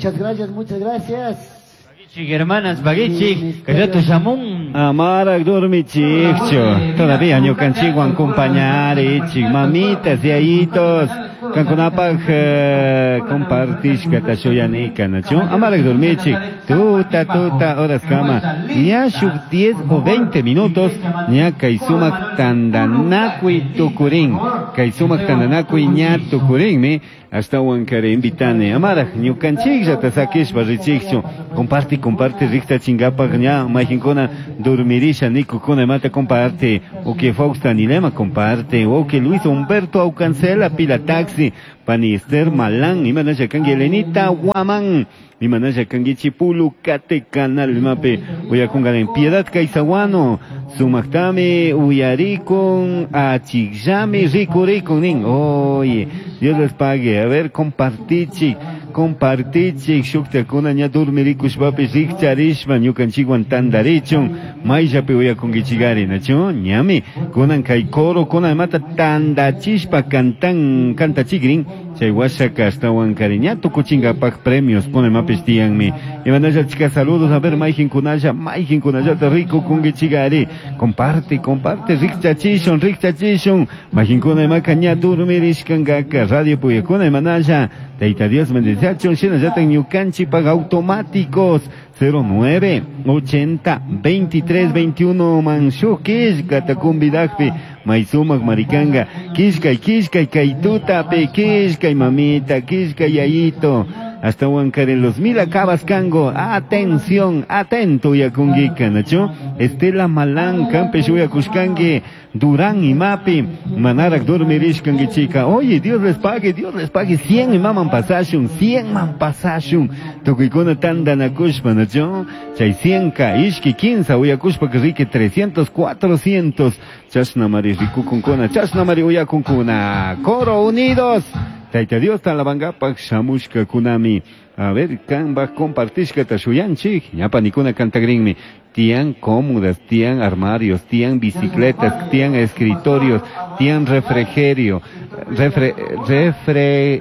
Muchas gracias, muchas gracias. Paguichik, hermanas, paguichik, kayrato shamun. Amaraq dormichikchu. Todavía ñukanchikwan compañarichik, mamitas, yayitos. Kankunapaq compartishkata shuyanika, nachu? Amaraq dormichik. Tuta, tuta, horas kama. Ña shuk 10 o 20 minutos, ña kay sumak tandanakuy tukurin. Kay sumak tandanakuy ña tukurinmi. Ashtawan kare invitane. Amaraq ñukanchikllata sakishpa richikchu. Comparte, comparte, riktachingapaq ña mayqinkuna dormirisha nikukuna imata comparte. Uki Fausta Nilema comparte. Uki Luis Humberto Aucancela pila taxi. Pani Esther Malán, imanasha kanki Elenita Guamán. Imanasha kanki Chipulu Kate Canal imapi uyakunka en Piedad Kaisaguano. Sumaktami uyarikun achikllami rikurikun nin. Oye, Dios les pague. A ver, compartichik, compartichik, shuktakuna ña dormirikushpapish rikcharishpa ñukanchikwan tandarichun mayllapi uyakunkichikari, nachu? Ñami, kunan kay coro kuna imata tandachishpa cantan, cantachikrin, chay washaka ashtawan kari ña tukuchinkapak premios kuna imapish tiyanmi. Imanasha chika saludos, a ver, mayqinkunalla, mayqinkunallata rikukunkichikari. Comparte, comparte, rikchachishun, rikchachishun. Mayqinkuna imaka ña dormirishkankaka, radio puyakuna imanasha. Tayta Dios bendeciachun, shinallata ñukanchikpak automáticos 09 80 23 21 man shuk killkata kumbidakpi may sumak marikanga killkay, killkay kay tutapi killkay mamita, killkay yayito. Hasta Huancarelos los mil acabas cango. Atención, atento yakunguika, nacho. Estela Malán, Campeche uyakushkangi, Durán y Mapi, Manarak dormirishkangi chica. Oye, Dios les pague, Dios les pague. 100 imaman pasashun, 100 man pasashun. Tukuykuna tandanakushpa, nacho. Chay 100 ka, ishki 15, uyakushpa que rique 300, 400. Chashna mari rikukunkuna, chashna mari uyakunkuna. Coro Unidos. Tayta Dios talabangapak shamushka kunami. A ver, kanba compartishka tashuyanchik. Ñapa nikuna cantagrinmi. Tian cómodas, tian armarios, tian bicicletas, tian escritorios, tian refrigerio, refre, refre,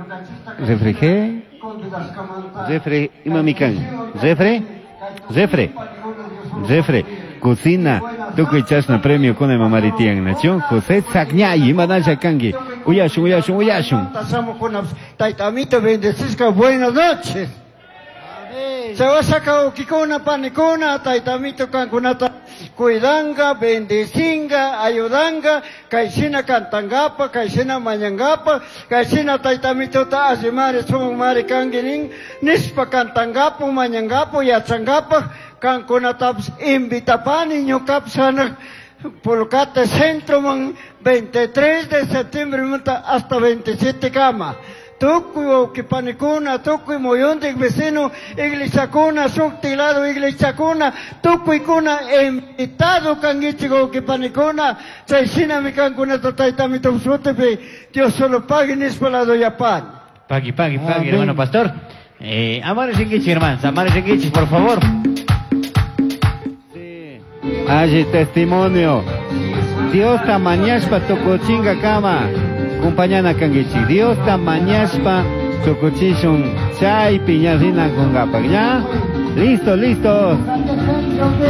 refrige, refre, imamikan, refre, refre, refre, cocina, tukuy chashna premio kuna mamari tian, nacho? José Sagñay, imanasha kanki. Uyashun, uyashun, uyashun. Taytamito bendecisca, buenas noches. Chawasaka ukikuna, panikuna, taytamito kankunata cuidanga, bendecinga, ayudanga, kaysina kantangapa, kaysina mañangapa, kaysina taytamitota asimari, sumari kanguinin, nispa kantangapa, mañangapa, yachangapa, kankunatapas invitapani, ñuqapis Pulcate Centro man 23 de septiembre hasta 27 kama. Tukuy wawqipanikuna, tukuy muyuntik vecino, iglesiakuna, shukti lado iglesiakuna, tukuykuna invitado kankichik wawqipanikuna, chay shinami kankunata taytamito sutipi, Dios solo pague nispa lado yapani. Pagui, pagui, pagui, hermano pastor. Amare Shinkichi, hermanos, Amare Shinkichi, por favor. Allí testimonio. Dios ta mañashpa tukuchinga kama. Compañana kangichi. Dios ta mañashpa tukuchishun chay piña rina kungapak, ¿ya? Listo, listo.